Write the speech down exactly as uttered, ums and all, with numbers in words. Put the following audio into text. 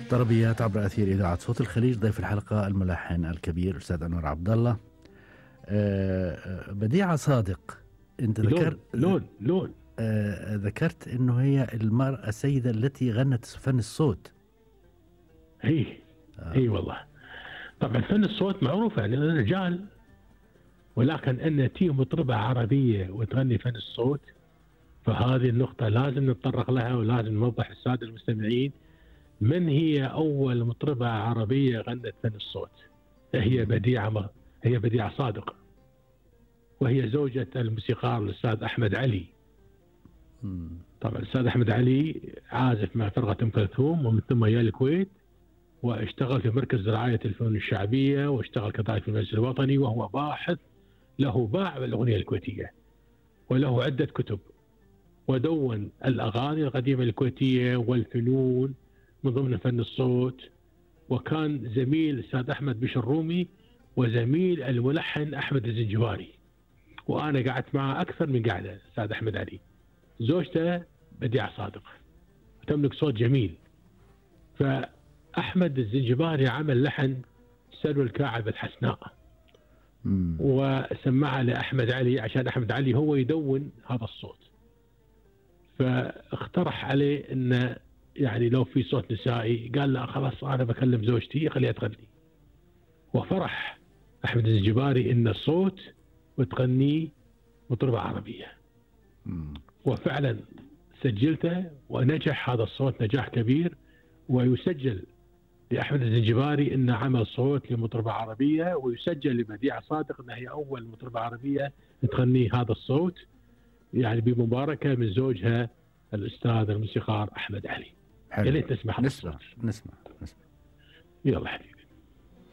طربيات عبر أثير إذاعة صوت الخليج. ضيف الحلقة الملحن الكبير أستاذ أنور عبد الله. آه، بديعة صادق، أنت ذكرت لون لون آه، ذكرت أنه هي المرأة السيدة التي غنت فن الصوت. هي آه. هي والله. طبعا فن الصوت معروف يعني رجال، ولكن أن تي مطربة عربية وتغني فن الصوت، فهذه النقطة لازم نتطرق لها ولازم نوضح للسادة المستمعين من هي أول مطربة عربية غنت فن الصوت. هي بديعة هي بديعة صادق، وهي زوجة الموسيقار الأستاذ أحمد علي. طبعا الأستاذ أحمد علي عازف مع فرقة أم كلثوم، ومن ثم جاء الكويت واشتغل في مركز رعاية الفنون الشعبية، واشتغل كذلك في المجلس الوطني، وهو باحث له باع بالأغنية الكويتية، وله عدة كتب، ودون الأغاني القديمة الكويتية والفنون من ضمن فن الصوت. وكان زميل الأستاذ أحمد بشرومي وزميل الملحن أحمد الزنجباري، وأنا قعدت معه أكثر من قعدة. الأستاذ أحمد علي زوجته بديعة صادق، تملك صوت جميل. فأحمد الزنجباري عمل لحن سلوى الكاعب الحسناء وسمعها لأحمد علي عشان أحمد علي هو يدون هذا الصوت. فاقترح عليه أن يعني لو في صوت نسائي، قال لا خلاص أنا بكلم زوجتي خليها تغني. وفرح أحمد الزنجباري إن الصوت وتغني مطربة عربية، وفعلا سجلته ونجح هذا الصوت نجاح كبير. ويسجل لأحمد الزنجباري إنه عمل صوت لمطربة عربية، ويسجل لبديعة صادق إنها هي أول مطربة عربية تغني هذا الصوت، يعني بمباركة من زوجها الأستاذ الموسيقار أحمد علي. يا ليت نسمع نسمع نسمع نسمع يلا حبيبي.